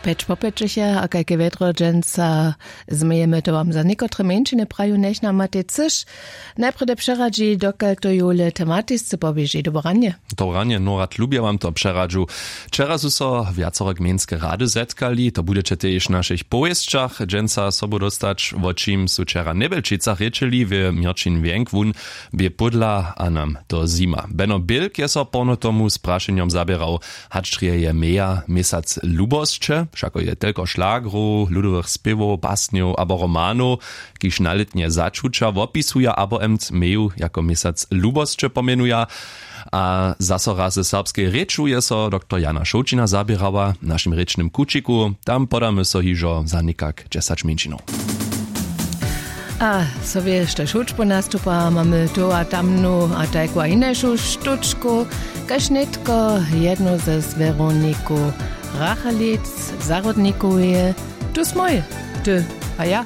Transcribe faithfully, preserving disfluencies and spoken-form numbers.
Pjeć po pjećich je a kajke wjedro dźensa? Změjemy to wam za někotre mjeńšiny praju njech nam matej cyš. Najprjedy přeradźi dokal to jule tematisce poběži dobranje. Dobranje norad lubja wam to přeradźu. Wčera su so wjacore gmejnske rady zetkali to budźeće tež w našich powěsćach dźensa sobu dostać wo čim su wčera njebelčicach rěčeli w měrćin wjenk wón bě pódla a nam to zima beno bilk je so porno tomu z prašenjom zaběrał. Hač drje je meja měsac lubosće wšako je telko šlagrow ludowych spěwow basnjow abo romanow, kiž na lětnje začuća wopisuja abo emt meju jako měsac lubosće pomjenuja. A zaso raz ze serbskej rěču je so doktor jana šołćina zaběrała w našim rěčnym kućiku tam podamy so hižo za někak dźesać mjeńšinow. A so wěš tež hudźbu nastupa mamy tu a tamnu a tajku a hinajšu štučku, kaž nětko jednu ze z weroniku rachalic, zahrodnikoweje. Tu smój, ty a ja.